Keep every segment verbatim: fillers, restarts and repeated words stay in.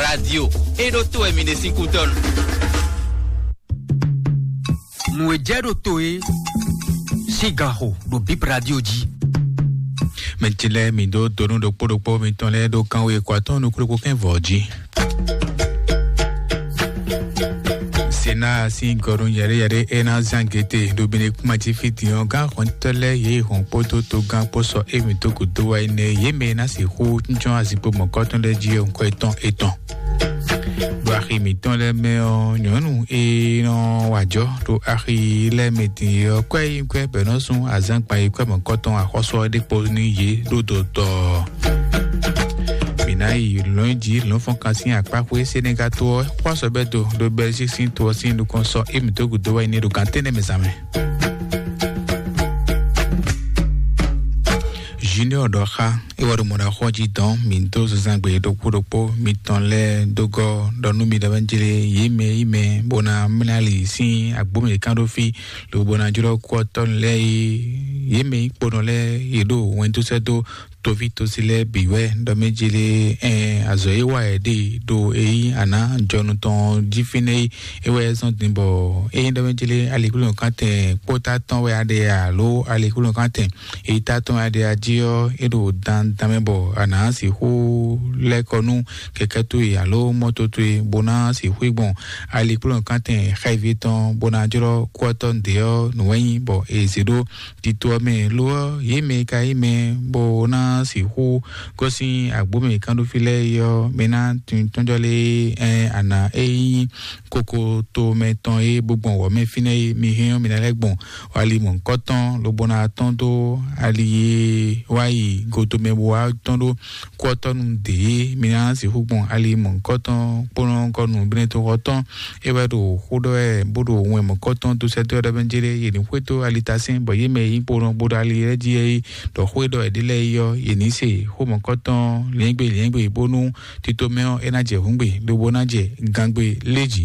Radio e ɖo to wɛ mi ɖe sín kútɔ́nu. Nǔ e jɛ ɖo to e sín gan xo ɖo Bib Radio jí. Mɛ ce lɛ́ɛ mi dó donu ɖokpó ɖokpó mitɔn lɛ́ɛ ɖó kánwé kɔ atɔ́ nukúnɖokpó kɛ́n vɔ̌ jí. Sena sín gɔnu yɛɖé yɛɖé e ná zán gete ɖo Benekuma jí fí din ɔ́, gán xɔntɔ́ lɛ́ɛ yě hɔn kpódó togán kpó sɔ émí dó gǔdo wá yi nɛ yě mɛ e ná sixú jɔ́n azinkpo mɔ̌kɔtɔn lɛ́ɛ jí ɔ́, ŋkɔ etɔn etɔn. Ɖo axi mǐtɔn lɛ́ɛ mɛ ɔ́, nyɔ̌nu e nɔ wa jɔ́ ɖo axi lɛ́ɛ mɛ din ɔ́, kwɛ́ yi kwɛ́ bɛ̌ nɔ sún azǎn gban yi kwɛ́ mɔ̌kɔtɔn axɔ́sú ɔ́ ɖé kpo nú yě ɖó dodɔɔ. Mǐ ná yi lɔ̌nyijǐ lɔ̌nfɔ́nkan sín akpáxwé Senegal to ɔ́ xwásɔ́bɛ́ do ɖo Belgique sín to ɔ́ sín nukɔn sɔ émí dó gǔdo wá yi ní ɖo gǎn tɛ́nnɛ mɛ zǎn mɛ. Junior ɖɔ xá é wá ɖo mɔ̌ ɖo axɔ́ jí dɔn mǐ dó zozangbe ɖokpó ɖokpó mitɔn lɛ́ɛ dó gɔ́ ɖɔ nú mi ɖɔ bɛ́ jlé yě mɛ yí mɛ bó ná mlá ali sín agbǒ mǐ kán ɖó fí lobo ná jlɔ́ kú ɔ́ tɔ́ lɛ́ɛ yí yě mɛ yí kponɔ lɛ́ɛ yě ɖo wɛn dó sɛ́ dó toví tosi lɛ́ɛ bǐ wɛ ɖɔ mɛ jlé ɛn azɔ̌ e wa yě ɖe ɖo e yí àná jɔnu tɔn jí fínɛ́ yí é wɛ zɔ́n din bɔ é nyí ɖɔ mɛ jlé aliklúnɔkántɛn kpótá tɔn wɛ a ɖe alo aliklúnɔkántɛn Ita tɔn aɖe ají ɔ́, é ɖo dandan mɛ bɔ a nǎ sixú lɛ́ kɔ nú kɛkɛ́ towe alo mɔto towe bó ná sixú yi gbɔn alikplɔ́nkántɛn xɛví tɔn bó ná jlɔ́ kú ɔ́ tɔn ɖě ɔ́ nǔ wɛ nyí bɔ è zě ɖó tito ɔ́ mɛ. Lo ɔ́, yě mɛ e ka nyí mɛ bó ná sixú gosín agbǒ mɛ kánɖófí lɛ́ɛ é ɔ́, mɛ ná tunwun tɔ́njɔ́ lé ɛ a nǎ é nyí kokoto mɛ tɔn e bó gbɔn wɔ̌ mɛ fínɛ́ é, mi hɛn ɔ́, mi ná lɛ́ gbɔn ali mɔ̌hunkɔtɔn lobo ná tɔ́n dó ali e wá yi godomɛ bó wá tɔ́n ɖó kú ɔ́ tɔ́ nu dě é, mi ná sixú gbɔn ali mɔ̌hunkɔtɔn kpónɔ kɔ nǔbínɛ́ toxɔ tɔn. É wɛ ɖo xó ɖɔ wɛ bó ɖo wɛn mɔ̌hunkɔtɔn dó sɛ́ dó wɛ ɖɔ bɛ́ jé ɖé, yě ní xwedó alitasɛ́n bɔ yě mɛ e nyí kpónɔ bó ɖo ali lɛ́ɛ jí é yi ɖɔ xó e ɖɔ wɛ ɖé lɛ́ɛ yi ɔ́, yě ní se xó mɔ̌hunkɔtɔn lǐɛ́ngbé lǐɛ́ngbé bónú tito mɛ ɔ́, é ná jɛ hǔngbe lobo ná jɛ gangbe lé jǐ.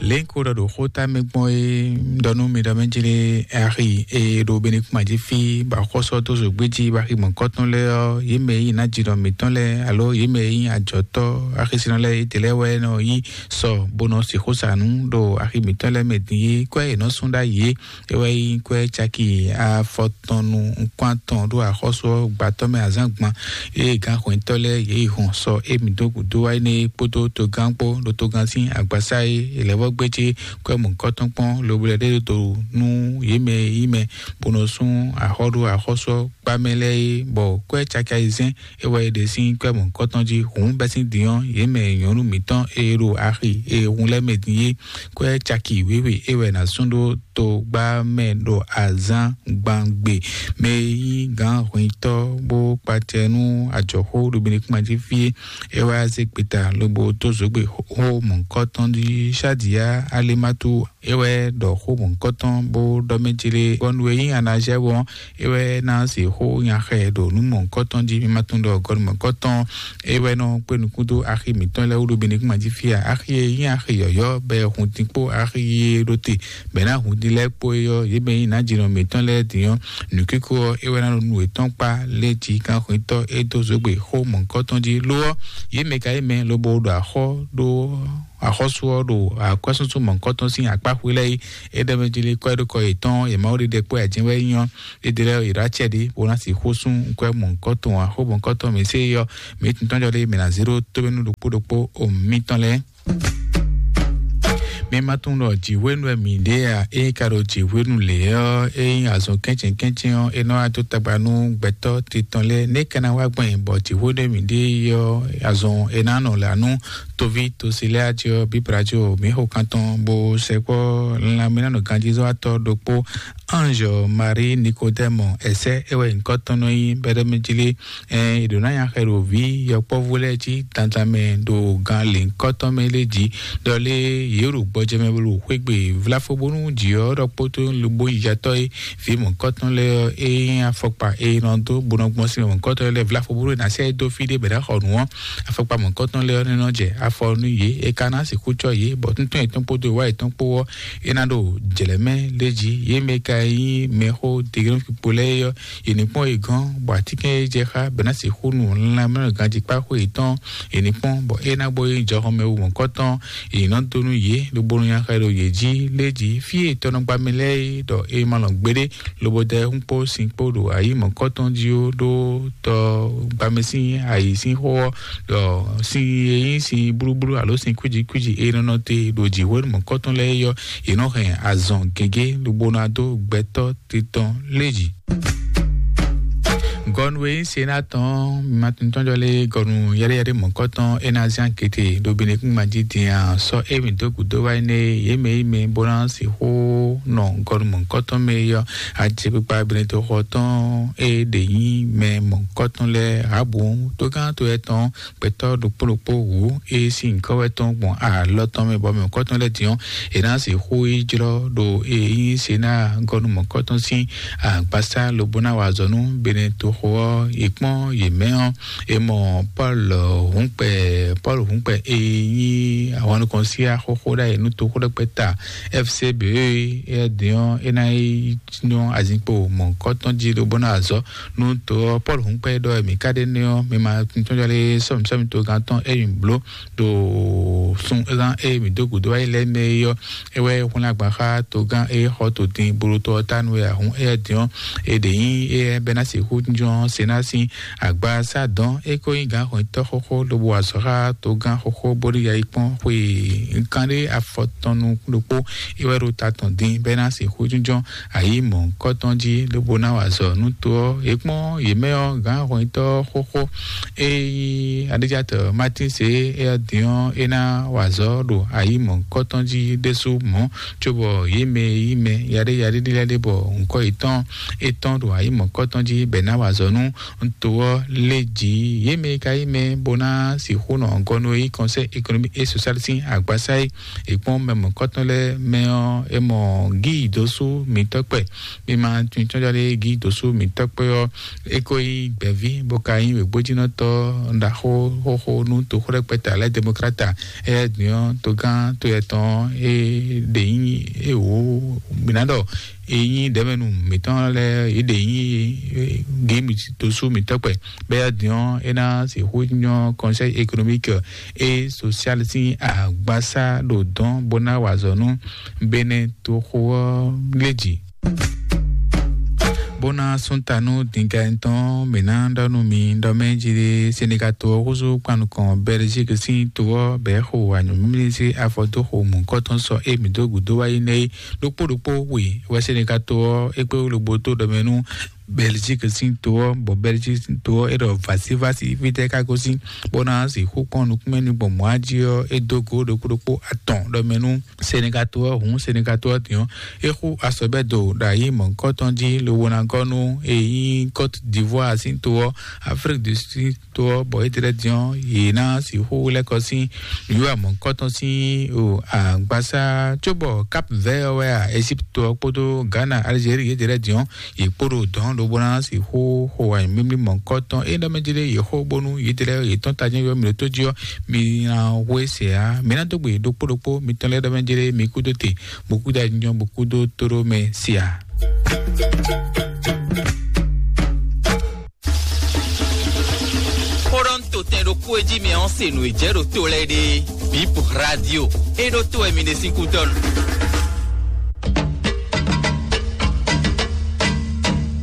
Lěnko ɖɔ ɖo xó ta mɛ gbɔn é ɖɔ nú mi ɖɔ mɛ jlé axi e ɖo Benekuma jí fí bɔ axɔ́sú ɔ́ dó zǒgbé jí bɔ axi mɔ̌kɔtɔn lɛ́ɛ ɔ́, yě mɛ e nyí nǎjínɔ mǐtɔn lɛ́ɛ alo yě mɛ e nyí ajɔ̌tɔ́ axisínɔ lɛ́ɛ, yědɛɛ lɛ́ɛ wɛ nɔ yí sɔ bó nɔ sixú sa nǔ ɖo axi mǐtɔn lɛ́ɛ mɛ din é, kwɛ́ yě nɔ sú ɖ'ayǐ é. É wɛ nyí kwɛ́ caki afɔtɔnnu nukún atɔn ɖó axɔ́sú ɔ́ gbǎtɔ́ mɛ azǎn gban. Ée gǎnxwɛ̌ntɔ́ lɛ́ɛ yě yi hɔn sɔ émí dó gǔdo wá énɛ́ kpódó togán kpó ɖo togán sín agbasá e è lɛ̌ vɔ́ gbé jí kwɛ́ mɔ̌hunkɔtɔn kpɔ́n lobo lɛ́ ɖe dó nú yě mɛ e nyí mɛ bó nɔ sú axɔ́ ɖó axɔ́sú ɔ́ kpá mɛ lɛ́ɛ é, bɔ kwɛ́ caki ayizɛ́n é wɛ è ɖe sín kwɛ́ mɔ̌hunkɔtɔn jí. Hǔn bɛ́ sín din ɔ́, yě mɛ nyɔ̌nu mǐtɔn e ɖo axi e hun lɛ́ mɛ din é, kwɛ́ caki wěwe é wɛ è nǎ sú ɖó togbá mɛ ɖo azǎn gbangbe. Mɛ e nyí gǎnhwintɔ́ bó kpacɛ nú ajɔ̌xó ɖo Benekuma jí fí é, é wá zé gbeta lobo dó zǒgbe xó mɔ̌hunkɔtɔn jí. Shadiya Alimatu é wɛ ɖɔ xó mɔ̌hunkɔtɔn bó ɖɔ mɛ jlé gɔnu e nyí Anazɛ́ ɔ́, é wɛ ná se xó nyaxɛ ɖo nǔ mɔ̌hunkɔtɔn jí. Mi ma tunwun ɖɔ gɔnu mɔ̌hunkɔtɔn é wɛ nɔ kpé nukún dó axi mǐtɔn lɛ́ɛ wú ɖo Benekuma jí fí a? Axi e nyí axi yɔ̌yɔ́ bɔ è hun dín kpó axi e ɖo te bɛ̌ ná hun din lɛ́ɛ kpó é ɔ́, yě mɛ e nyí nǎjínɔ mǐtɔn lɛ́ɛ din ɔ́, nǔkíkó ɔ́, é wɛ ná ɖo nú yětɔn kpá lé jí gánxwetɔ́ e dó zǒgbe xó mɔ̌hunkɔtɔn jí. Lo ɔ́, yě mɛ ka yí mɛ lobo ɖo axɔ́ ɖó axɔ́sú ɔ́ ɖo akwɛ́súnsún mɔ̌hunkɔtɔn sín akpá xwé lɛ́ɛ é. É ɖɔ mɛ jí lé kɔ́ é ɖó kɔ yětɔn, yě Mawu ɖiɖe kpó ajɛn wɛ é nyí ɔ́, é ɖe lɛ́ɛ yě ɖó acɛ ɖě bó ná sixú sú nkwɛ́ mɔ̌hunkɔtɔn axó mɔ̌hunkɔtɔn mǐ sé é ɔ́, mǐ tun tɔ́n jɔ lé mǐ ná zé ɖó tóbɛ́nú ɖokpó ɖokpó o mǐtɔn lɛ́ɛ. Mi ma tunwun ɖɔ jǐhwenu wɛ mǐ ɖe a? Ée ka ɖo jǐhwenu lě ɔ́, é nyí azɔn kɛ́ntín kɛ́ntín ɔ́, é nɔ wá dó tagba nú gbɛtɔ́ titɔn lɛ́ɛ. Nɛ̌ ka ná wá gbɔn bɔ jǐhwenu e mǐ ɖe ɔ́, azɔn è nǎ nɔ lǎ nú toví tosi lɛ́ɛ a jí ɔ́, Bíbla jí ɔ́, mǐ xo kan tɔn bó sɛkpɔ́ lanmɛnánɔ ganjízɔ́watɔ́ ɖokpó Ange Marie Nicodème ɛsɛ é wɛ nyǐkɔ tɔn nɔ nyí bɛ́ɖɔ́mɛjílé. Ɛn, è ɖǒ ná nya xɛ ɖo vǐ yɔkpɔ́vú lɛ́ɛ jí dandan mɛ ɖo gan lěhunkɔtɔn mɛ lé jí, ɖɔ lé yě ɖo gbɔjɛ mɛ bó ɖo xwé gbe vláfó bónú jǐ ɔ́ ɖɔ kpótó lobo yiyatɔ́ é vǐ mɔ̌kɔtɔn lɛ́ɛ ɔ́, é nyí afɔkpa e nɔ dó bó nɔ gbɔn sin mɔ̌kɔtɔn lɛ́ɛ vláfó bónú è nǎ sɛ́ é dó fí ɖé bɛ ná xɔ nǔ ɔ́, afɔkpa mɔ̌kɔtɔn lɛ́ɛ ɔ́ ní nɔ jɛ afɔ nú yě, é ka ná sixú cɔ́ yě, bɔ tɔ́ntɔn yětɔn kpódó wá yětɔn kpó ɔ́, é ná ɖo jlɛ̌ mɛ lé jí. Yě mɛ ka e nyí mɛxó Degrɔn Kpikpo lɛ́ɛ é ɔ́, yě ní kpɔ́n yě gɔ́n, bɔ atínkɛn e jɛ xá bɛ ná sixú nu lanmɛnɔ ganjí kpá xó yětɔn, yě ní kpɔ́n, bɔ é ná bó nyí jɔhɔnmɛ wú mɔ̌kɔtɔn, yě nɔ dó nú yě, lobo nɔ nya xɛ ɖo yě jí lé jí. Fí e tɔnɔgbamɛ lɛ́ɛ é ɖɔ é ma lɔn gbeɖé, lobo dɛ hún kpó sin kpó ɖo ayǐ mɔ̌kɔtɔn jí ó, ɖó tɔ gbamɛ sín ayǐ sín xó ɔ́, ɖɔ sin e nyí sin blúblú alo sin kwíji kwíji e nɔ nɔ te ɖo jǐ hwenu mɔ̌kɔtɔn lɛ́ɛ é ɔ́, yě nɔ hɛn azɔn gěgé lobo ná dó gbɛtɔ́ titɔn lé jí. Gɔnu e nyí Sena tɔn, mi ma tunwun tɔn jɔ lé gɔnu yɛɖéyɛɖé mɔ̌kɔtɔn e ná zán kété ɖo Benekúnma jí din a, sɔ́ émí dó gǔdo wá énɛ́ yě mɛ yí mɛ bó ná sixú nɔ gɔnu mɔ̌kɔtɔn mɛ é ɔ́, ajɛkpikpa Benetoxɔ tɔn e ɖě nyí mɛ mɔ̌kɔtɔn lɛ́ɛ Rabu tógán to etɔn gbɛtɔ́ ɖokpó ɖokpó wǔ e sín nyǐkɔ wɛ tɔn gbɔn alɔ tɔn mɛ, bɔ mɛ mɔ̌kɔtɔn lɛ́ɛ din ɔ́, è nǎ sixú yi jlɔ́ ɖo e nyí Sena gɔnu mɔ̌kɔtɔn sín agbasá lobo ná wa azɔ̌ nú Benetoxo ɔ́, yě kpɔ́n yě mɛ ɔ́, è mɔ Pɔ́lu Hǔnkpɛ, Pɔ́lu Hǔnkpɛ e nyí ahwan nukɔn sí axɔ́xó ɖ'ayǐ nú toxó ɖɛkpɛ ta F C B E, é din ɔ́, é ná yi nɔ azinkpo mɔ̌kɔtɔn jí lobo ná wa azɔ̌ nú to ɔ́. Pɔ́lu Hǔnkpɛ ɖɔ mǐ ka ɖe nɛ́ ɔ́, mi ma tɔn jɔ lé sɔ́mǐ sɔ́mǐ togán tɔn e mǐ bló ɖo sun é gán e mǐ dó gǔdo wá yi lɛ́ɛ mɛ é ɔ́, é wɛ hwlɛ́n agban xá togán e xɔ to din bolotɔ ɔ́ tánu wɛ a hǔn éyɛ́ din ɔ́, è ɖě nyí éyɛ́ bɛ́ ná sixú jínjɔ́n se ná sín agba sá dɔn. É ko nyí gǎn hɔnyitɔ́ xóxó lobo wa azɔ̌ xá togán xóxó bónú ya yi kpɔ́n xwe kanɖé afɔtɔn nukún ɖokpó. É wɛ ɖo ta tɔn din bɛ́ ná sixú jínjɔ́n ayǐ mɔ̌hunkɔtɔn jí lobo ná wa azɔ̌ nú to ɔ́. Yě kpɔ́n yě mɛ ɔ́, gǎn hɔnyitɔ́ xóxó e nyí Adéjatɔ Matín se éyɛ́ din ɔ́, é ná wa azɔ̌ ɖo ayǐ mɔ̌hunkɔtɔn jí ɖésú mɔ̌, cóbɔ yě mɛ e nyí mɛ yaɖé yaɖé ɖé lɛ́ɛ ɖé bɔ ŋkɔ yětɔn é tɔ́n ɖo ayǐ mɔ̌hunkɔtɔn jí bɔ è nǎ wa azɔ̌ nú to ɔ́ lé jǐ. Yě mɛ e ka nyí mɛ bó ná sixú nɔ gɔ́ nú é nyí Conseil économique et social sín agbasá é. È kpɔ́n mɛ mɔ̌hunkɔtɔn lɛ́ɛ mɛ ɔ́, é mɔ Gíi dǒsú mǐtɔ́ kpɛ. Mi ma tunwun cɔ́njá lé Gíi dǒsú mǐtɔ́ kpɛ ɔ́, é ko nyí gbɛ̌ví, bó ka nyí wěgbójínɔtɔ́ ɖaxó xóxó nú toxó ɖɛkpɛ ta lɛ́ɛ Democrate. Éyɛ́ din ɔ́, togán to yɛtɔn ɔ́, é ɖě nyí é wǒ mǐ ná ɖɔ é nyí ɖɛ̌mɛnu mǐtɔn lɛ́ɛ, é ɖě nyí gémi dǒsú mǐtɔ́ kpɛ. Bɛ́ din ɔ́, é ná sixú nyɔ́ Conseil économique et social sín agbasá ɖo dɔn bó ná wa azɔ̌ nú Benɛ toxo ɔ́ lé jǐ. Bó ná sún ta nú dǐngán tɔn, mǐ ná ɖɔ nú mi ɖɔ mɛ jí ɖé, Senegal to ɔ́ húzú kpan nukɔn Belgique sín to ɔ́ bɛ̌ xo anyǔmímí sín afɔ dó xo mɔ̌hunkɔtɔn sɔ é mǐ dó gǔdo wá yi nɛ́ é. Ɖokpó ɖokpó we wɛ Senegal to ɔ́ é kpé wú lobó tó ɖɔ mɛ nú Belgique sín to ɔ́, bɔ Belgique sín to ɔ́ é ɖɔ vǎsivásí fítɛ́ ká gosín, bó ná sixú kpɔ́n nukúnmɛ ní gbɔn mɔ̌ á jí ɔ́, é dó gǒ ɖokpó ɖokpó atɔn ɖɔ mɛ nú Senegal to ɔ́. Hǔn Senegal to ɔ́ din ɔ́, é xú asɔbɛ́do ɖo ayǐ mɔ̌hunkɔtɔn jí lobo ná gɔ́ nú e nyí Côte d'Ivoire sín to ɔ́, Afrique du Sud to ɔ́, bɔ étɛ́ lɛ́ɛ din ɔ́, yě ná sixú lɛ́ kɔ sín nǔwiwa mɔ̌hunkɔtɔn sín o agbasá, cóbɔ Cap Vert ɔ́ wɛ a, Égypte to ɔ́ kpódó Ghana, Algérie yětɛ́ lɛ́ɛ din ɔ́, yě kpo ɖo dɔ̌n lobo ná sixú xo anyǔmímí mɔ̌hunkɔtɔn. É ɖɔ mɛ jí ɖé yě xo bónú yětɛ́ lɛ́ɛ yě tɔ́n tají yɔ mǐ ɖo tó jí ɔ́, mi ná hwe se ǎ. Mi ná dó gbe ɖokpó ɖokpó mitɔn lɛ́ɛ ɖɔ mɛ jí ɖé mi kúdó te, bó kúdó ajínjɔ́n, bó kúdó tóɖó mɛ se ǎ. Xó ɖɔ un to tɛn ɖokpó e jí mi ɔ́ se nǔ e jɛ ɖo to lɛ́ɛ ɖe. Bip Radio. É ɖó to wɛ mi ɖe sín kútɔ́ nu.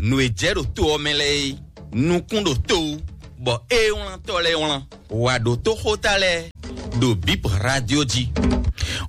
Nǔ e jɛ ɖo to ɔ́ mɛ lɛ́ɛ é, nukún ɖo to wú, bɔ é wlán tɔ́ lɛ́ɛ wlán. Wǎ ɖó tó xóta lɛ́ɛ ɖo Bip Radio jí.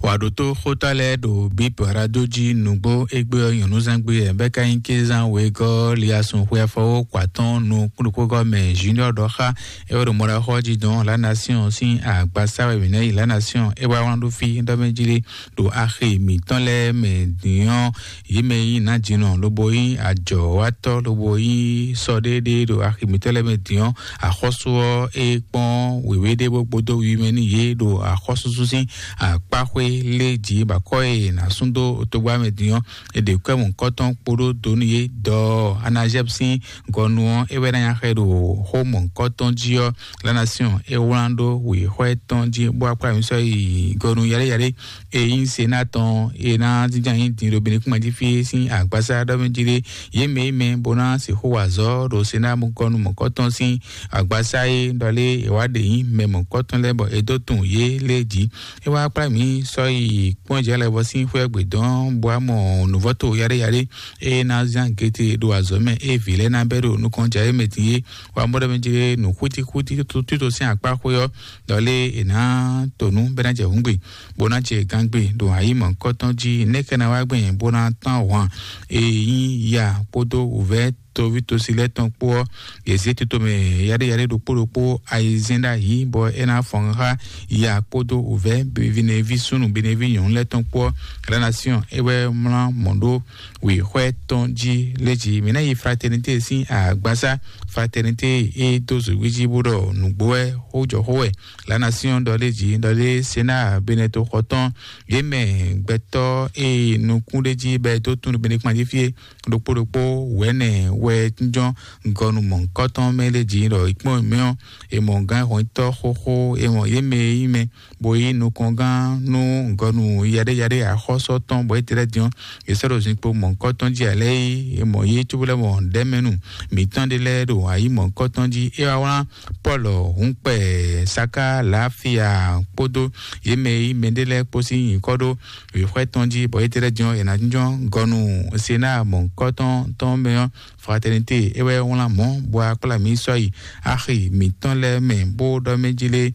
Wǎ ɖó tó xóta lɛ́ɛ ɖo Bip Radio jí nǔgbó égbé ɔ́ nyɔ̌núzán gbé ɛ bɛ́ ka nyí kézán wegɔ́ liasun xwe afɔwó kɔ atɔ́ɔ́n nukún ɖokpó gɔ́ mɛ Junior ɖɔ xá é wɛ ɖo mɔɖaxɔ jí dɔn La Nation sín agbasá wɛ mǐ ná yi La Nation é wá wlán ɖó fí ɖɔ mɛ jí ɖé ɖo axi mǐtɔn lɛ́ɛ mɛ din ɔ́, yě mɛ e nyí nǎjínɔ lobo nyí ajɔ̌watɔ́ lobo nyí sɔɖéɖé ɖo axi mǐtɔn lɛ́ɛ mɛ din ɔ́, axɔ́sú ɔ́ é kpɔ́n wěwé ɖé bó gbódó wiwi mɛ nú yě ɖo axɔ́súsú sín akpáxwé lé jǐ bɔ akɔ́ e è nǎ sú dó togbá mɛ din ɔ́, è ɖe kwɛ́ mɔ̌hunkɔtɔn kpódó donu e dɔ Anazɛ́b sín gɔnu ɔ́, é wɛ ná nya xɛ ɖo xó mɔ̌hunkɔtɔn jí ɔ́, La Nation é wlán ɖó wěxɔ tɔn jí bó wá kplá mǐ sɔ́ yi gɔnu yaɖéyaɖé e nyí Sená tɔn e ná jínjɔ́n ayǐ din ɖo Benɛkúma jí fí é sín agbasá ɖɔ mɛ jí ɖé. Yě mɛ yi mɛ bó ná sixú wa azɔ̌ ɖo Sená gɔnu mɔ̌hunkɔtɔn sín agbasá e ɖɔ lé è wá ɖe nyí mɛ mɔ̌hunkɔtɔn lɛ́ɛ bɔ è dó tunwun yě lé jí. É wá kplá mǐ sɔ́ yi kpɔ́n jɛ lɛ́ɛ bɔ sín xwé gbe dɔn bó wá mɔ nǔvɔ́to yaɖéyaɖé e ná zán gete ɖo azɔ̌ mɛ e vǐ lɛ́ɛ ná bɛ́ ɖo nukɔn jɛ é mɛ din é. Wá mɔ ɖɔ mɛ jí nǔ xútíxútí tito sín akpá xwé ɔ́, ɖɔ lé è nǎ to nǔ bɛ́ ná jɛ hǔngbe bó ná jɛ gangbe ɖo ayǐ mɔ̌hunkɔtɔn jí. Nɛ̌ ká ná wá gbɛn bó ná tán hwan e nyí ya kpódó wǔvɛ́ toví tosi lɛ́ɛ tɔn kpó ɔ́, yě zé tito mɛ yaɖéyaɖé ɖokpó ɖokpó ayizɛ́n ɖ'ayǐ bɔ é ná fɔn xá ya kpódó wǔvɛ́ bineví súnnu bineví nyɔ̌nu lɛ́ɛ tɔn kpó ɔ́. La Nation é wɛ mlá mɔ̌ ɖó wěxwɛ tɔn jí lé jí. Mǐ ná yi Fraternité sín agbasá. Fraternité e dó zǒgbí jí bó ɖɔ nǔgbó wɛ xó jɔ xó wɛ. La Nation ɖɔ lé jí ɖɔ lé Sená Benɛto xɔ tɔn yě mɛ gbɛtɔ́ e nukún ɖé jí bɛ dó tún Benɛkúma jí fí é ɖokpó ɖokpó wɛ̌nɛ wɛ jínjɔ́n gɔnu mɔ̌hunkɔtɔn mɛ lé jí ɖɔ ìkpɔ́n mɛ ɔ́, è mɔ gǎn hɔnyitɔ́ xóxó, è mɔ yě mɛ e nyí mɛ bó yí nukɔngán nú gɔnu yaɖéyaɖé axɔ́sɔ tɔn bɔ é tlɛ́ din ɔ́, è sɔ́ ɖo zinkpo mɔ̌hunkɔtɔn jí ǎ lɛ́ɛ é, è mɔ yě cóbó lɛ́ mɔ ɖɛ̌mɛnu mǐtɔn ɖé lɛ́ɛ ɖo ayǐ mɔ̌hunkɔtɔn jí. É wá wlán Pɔ́lu Hǔnkpɛ Saká Lafia kpódó yě mɛ e nyí mɛɖé lɛ́ɛ kpó sín nyǐkɔ ɖó wěxwɛ tɔn jí bɔ é tlɛ́ din ɔ́, è nǎ jínjɔ́n gɔnu Sená mɔ̌hunkɔtɔn tɔn mɛ ɔ́, Fraternité é wɛ wlán mɔ̌ bó wá kplá mǐ sɔ́ yi axi mǐtɔn lɛ́ɛ mɛ bó ɖɔ mɛ jí lé.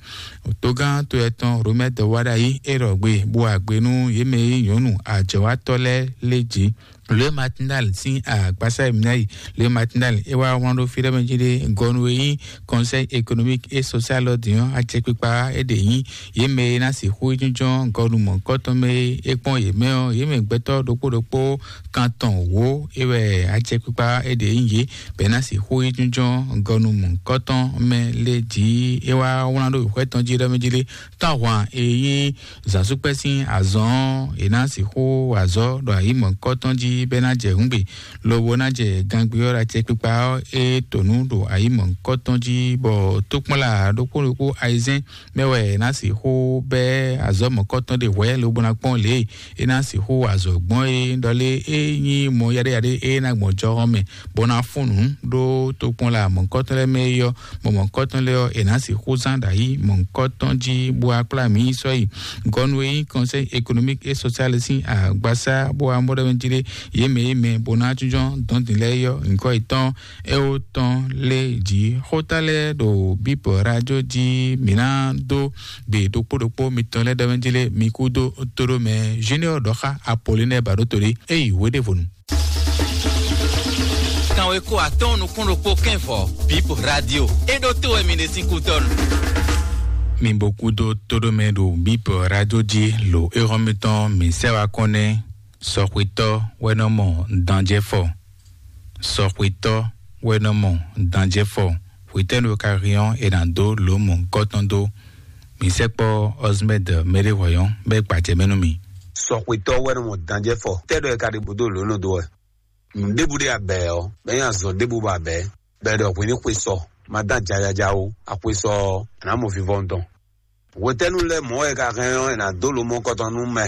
Togán to etɔn Romɛ́ dɔ wá ɖ'ayǐ é ɖɔ gbe bó wá gbe nú yě mɛ e nyí nyɔ̌nu ajɔ̌wátɔ́ lɛ́ɛ lé jí. Le Matinal sín agbasa e mǐ ná yi. Le Matinal é wá wlán ɖó fí ɖɔ mɛ jí lé gɔnu e nyí Conseil économique et social ɔ́ din ɔ́, acɛkpikpa é ɖě nyí yě mɛ e ná sixú yi jínjɔ́n gɔnu mɔ̌hunkɔtɔn mɛ e é kpɔ́n yě mɛ ɔ́, yě mɛ gbɛtɔ́ ɖokpó ɖokpó kan tɔn wǒ é wɛ acɛkpikpa é ɖě nyí yě bɔ é ná sixú yi jínjɔ́n gɔnu mɔ̌hunkɔtɔn mɛ lé jí. É wá wlán ɖó wěxwɛ́ tɔn jí ɖɔ mɛ jí lé tɔ́hwan e nyí zǎnsúkpɛ́ sín azɔn ɔ́, è nǎ sixú wa azɔ̌ ɖo ayǐ mɔ̌hunkɔtɔn jí bɔ é ná jɛ hǔngbe, lobo ná jɛ gangbé ɔ́ ɖo acɛkpikpa ɔ́ e to nǔ ɖo ayǐ mɔ̌hunkɔtɔn jí, bɔ tókpɔ́nla ɖokpó ɖokpó ayizɛ́n mɛ wɛ è nǎ sixú bɛ́ azɔ̌ mɔ̌hunkɔtɔn ɖé hwɛ̌ lobo ná kpɔ́n lě e é ná sixú wa azɔ̌ gbɔn é ɖɔ lé é nyí mɔ yaɖéyaɖé e ná gbɔn jɔhɔn mɛ bó ná fún nǔ ɖó tokpɔnla mɔ̌hunkɔtɔn lɛ́ɛ mɛ é ɔ́, mɔ mɔ̌hunkɔtɔn lɛ́ɛ ɔ́, è nǎ sixú zán ɖo ayǐ mɔ̌hunkɔtɔn jí bó wá kplá mǐ yi sɔ́ yi. Gɔnu e nyí Conseil économique et social sín agbasá bó wá mɔ ɖɔ mɛ jí ɖé yě mɛ yě mɛ bó ná jínjɔ́n dɔn din lɛ́ɛ é ɔ́, nyǐkɔ yětɔn é wó tɔn lé jǐ. Xóta lɛ́ɛ ɖo bíbɔ rájó jí mǐ ná dó gbe ɖokpó ɖokpó mitɔn lɛ́ɛ ɖɔ mɛ jí lé mi kú dó tóɖó mɛ. Junior ɖɔ xá Apollinaire Baɖótolé é yi wéɖévonu. Kanweko atɔ́ɔ́n nukún ɖokpó kɛ́nvɔ Bip Radio. É ɖó tó wɛ mi ɖe sín kútɔ́nu. Mi bo kúdó tóɖómɛ ɖo Bip Radio jí lo éhɔ́n mitɔn mi sɛ́ wá kɔn nɛ́. Sɔxwetɔ́ wɛ nɔ mɔ danjɛ́fɔ. Sɔxwetɔ́ wɛ nɔ mɔ danjɛ́fɔ. Hwetɛ́nu ka hɛn ɔ́, è nǎ dó lǒ mɔ̌hunkɔtɔn dó. Mi sɛkpɔ́ Ɔzmɛ́d Mɛɖéhwɛyɔ́n bɔ é gbajɛ mɛ nú mi. Sɔxwetɔ́ wɛ nɔ mɔ danjɛ́fɔ. Tɛ́ ɖɔ è ka ɖe bǔ dó lǒ nɔ dó wɛ? Nǔ ɖěbǔ ɖé abɛ ɔ́, bɔ é nyí azɔ̌ ɖěbǔ bɔ abɛ, bɔ è ɖɔ hwě ní xwe sɔ, ma dán jajaja ó, axwe sɔ ɔ́, è nǎ mɔ vivɔnu tɔn. Hwetɛ́nu lɛ́ɛ mɔ̌ wɛ è ka hɛn ɔ́, è nǎ dó lǒ mɔ̌hunkɔtɔn nú mɛ.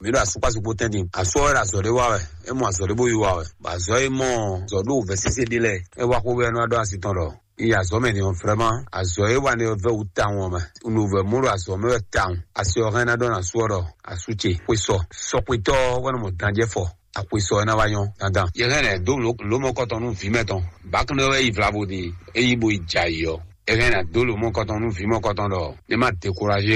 Mǐ ɖo asukpásu kpó tɛ́ntin. Asú ɔ́ wɛ ɖo azɔ̌ ɖé wa wɛ. É mɔ azɔ̌ ɖé bó yí wa wɛ. Bɔ azɔ̌ e mɔ azɔ̌ ɖo vɛ̌ sésé ɖé lɛ́ɛ, é wá xó wɛ nú wá ɖó asi tɔn ɖɔ un yi azɔ̌ mɛ din ɔ́, vraiment azɔ̌ e wa nɛ ɔ́ vɛ́ wǔ tawun ɔ́ mɛ. Un ɖo vɛ̌ mɔ ɖo azɔ̌ mɛ wɛ tawun. Asi ɔ́ hɛn ná ɖɔ nú asú ɔ́ ɖɔ asú ce, xwe sɔ. Sɔxwetɔ́ ɔ́ wɛ nɔ mɔ danjɛ́ fɔ. Axwe sɔ ɔ́ ná wá nyɔ́ dandan. Yě hɛn lɛ̌ dó lǒ- lǒ mɔkɔtɔn nú vǐ mɛtɔn. Bǎkúnɖé wɛ yi vlavo din, é yí bo yi jɛ ayǐ ɔ́. É hɛn ná dó lǒ mɔkɔtɔn nú vǐ mɔkɔtɔn ɖɔ ní má dekuraje